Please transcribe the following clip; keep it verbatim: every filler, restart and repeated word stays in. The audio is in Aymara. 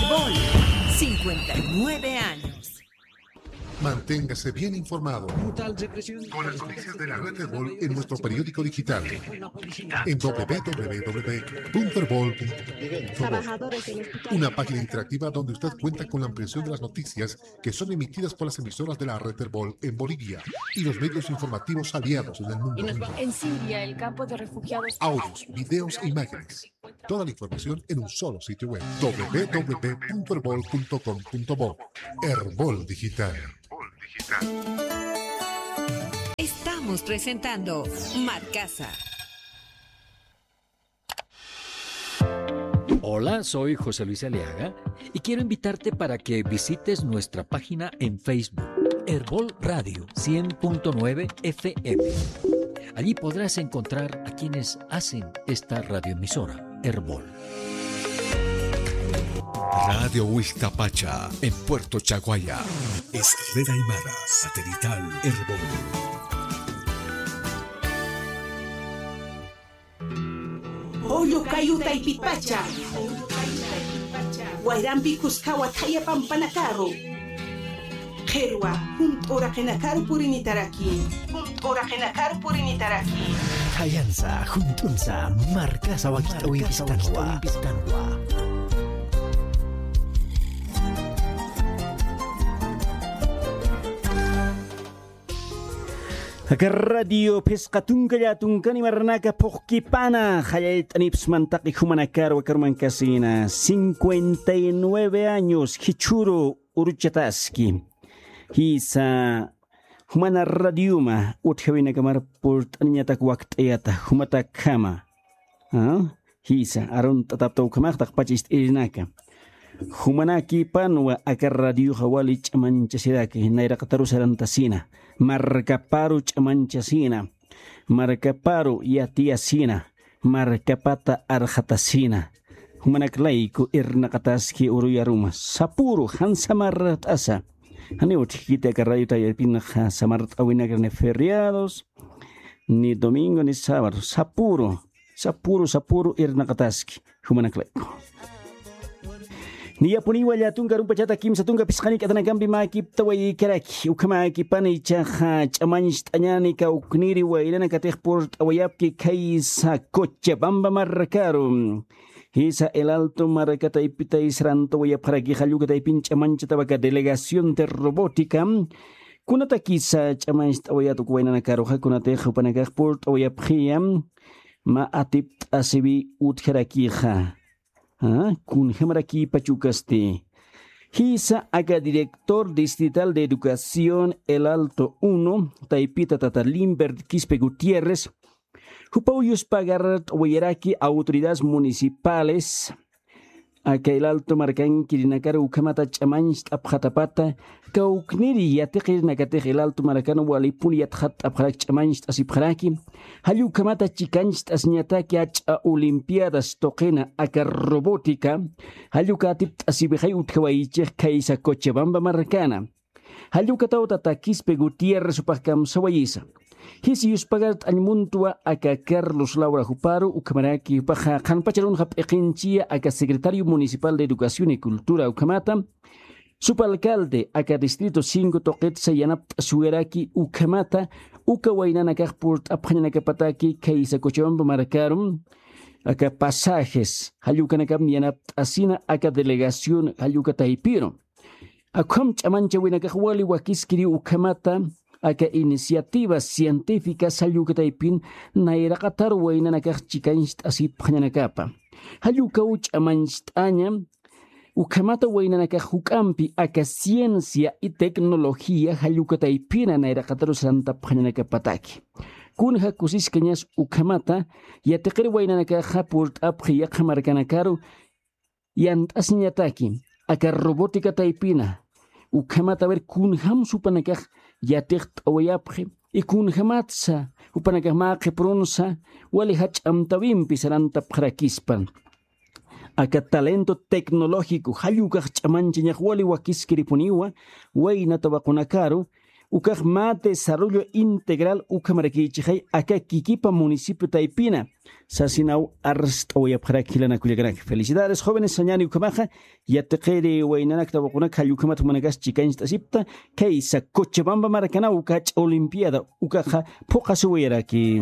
Bol, cincuenta y nueve años. Manténgase bien informado con las noticias de la red Erbol en nuestro periódico digital en w w w punto erbol punto com. Una página interactiva donde usted cuenta con la ampliación de las noticias que son emitidas por las emisoras de la red Erbol en Bolivia y los medios informativos aliados en el mundo. En Siria, el campo de refugiados. Audios, videos e imágenes. Toda la información en un solo sitio web, w w w punto erbol punto com punto bo. Erbol Digital. Estamos presentando Marcasa. Hola, soy José Luis Aliaga y quiero invitarte para que visites nuestra página en Facebook, Erbol Radio cien punto nueve F M. Allí podrás encontrar a quienes hacen esta radioemisora, Erbol. Radio Huixtapacha, en Puerto Chaguaya. Es red aymara satelital Erbol. Julio Cayo Taypipacha. Wayrampi kuskawa thaya pampanakaru. Qhirwa, junt'u uraqinakaru purinitaraki. Junt'u uraqinakaru purinitaraki. Thayansa, junt'unsa, Marcasa wakich'awipistanwa. Aka radio phisqa tunka llätunkani marnaka phuqkipana, qallallt'anipsman taqi jumanakaru aka urmankasina, cincuenta y nueve años, jichhüru uruchataski. Jisa, jumana radioma utjäwinakamar purt'aniñatak wakt'ayata, jumatakjama. ¿Ah? Jisa, arunt'atapta ukhamax taqpach ist'irinaka. Jumanakipanwa aka radioxa wali ch'amanchasiraki, nayraqataru sarantasina, markaparu ch'amanchasina, markaparu yatiyasina, markapata arxatasina. Jumanak layku irnaqataski uruyaruma, sapüru jan samart'asa. Janiw utjkiti aka radio tayarpinxa samart'äwinakar ni feriados, ni domingo, ni sábado, sapüru. Sapüru, sapüru irnaqataski, jumanak layku. Niyapuniwa llätunka arumpachata kimsa tunka phisqani k'atanakampi mäkiptawaykaraki, ukhamäkipana ichaxa ch'amancht'añäni kawkniri waynanakatix purt'awayapki khaysa Cochabamba markaru. Jisa El Alto marka taypita sarantawayapxaraki, jall uka taypin ch'amanchatawa aka delegación de robótica. Kunatakisa ch'amancht'awayät uk waynanakaruxa, kunatix jupanakax purt'awayapxiya, mä atipt'asiwi utjarakixa. ¿Ah? Kunjamarakïpach ukasti. Jisa aka director distrital de educación El Alto uno, taypita tata Limbert Quispe Gutiérrez, jupaw yuspagart'awayaraki autoridades municipales, aka El Alto markankirinakar ukhamata ch'amancht'apxatapata, kawkniri yatiqirinakatix El Alto markan walipun yatxatt'apxaraki, ch'amancht'asipxaraki, jall ukhamata chikancht'asiñataki jach'a olimpiadas tuqina aka robótica, jall uka atipt'asiwixay utjawayichix khaysa Cochabamba markana. Jall ukataw tata Quispe Gutiérrez jupax kamsawayisa. Jisa yuspagart'añ muntwa aka Carlos Laura juparu, ukhamaraki jupaxa qhanpach arunxa p'iqinchiya aka secretario municipal de Educación y Cultura ukhamata, subalcalde aka distrito cinco tuqitsa yanapt'asiwayaraki ukhamata, uka waynanakax purt'apxañanakapataki khaysa Cochabamba markaru, aka pasajes, jall ukanakam yanapt'asina aka delegación jall uka taypiru. Akham ch'amanchawinakax wali wakiskiriw ukhamata, aka iniciativas científicas jall uka taypin nayraqatar waynanakax chikancht'asipxañanakapa. Jall ukaw ch'amancht'aña, ukhamata waynanakax juk'ampi aka ciencia y tecnología jall uka taypina nayraqataru sarantapxañanakapataki. Kunja kusiskañas ukhamata, yatiqir waynanakaxa purt'apxi yaqha markanakaru, yant'asiñataki, aka robótica taypina, ukhamata a ver kunjamsa jupanakax yatiqt'awayapxi, y kunjamatsa jupanakax mä qhiprunsa wali jach'a amtäwimpi sarantapxarakispa. Aka talento tecnológico jall ukax ch'amanchañax wali wakiskiripuniwa, wayna tawaqunakaru, Ukax mä desarrollo integral ukhamarakichixay aka kikipa municipio taypina sasinaw arst'awayapxarak jilanakullakanaka. Felicidades jóvenes sañani ukhamaxa. Yatiqiri waynanakta waqunaka jall ukhamat jumanakas chikañcht'asipta. Khaysa cochabamba marakanaw uka jach'a olimpiada ukaxa phuqhasiwayaraki.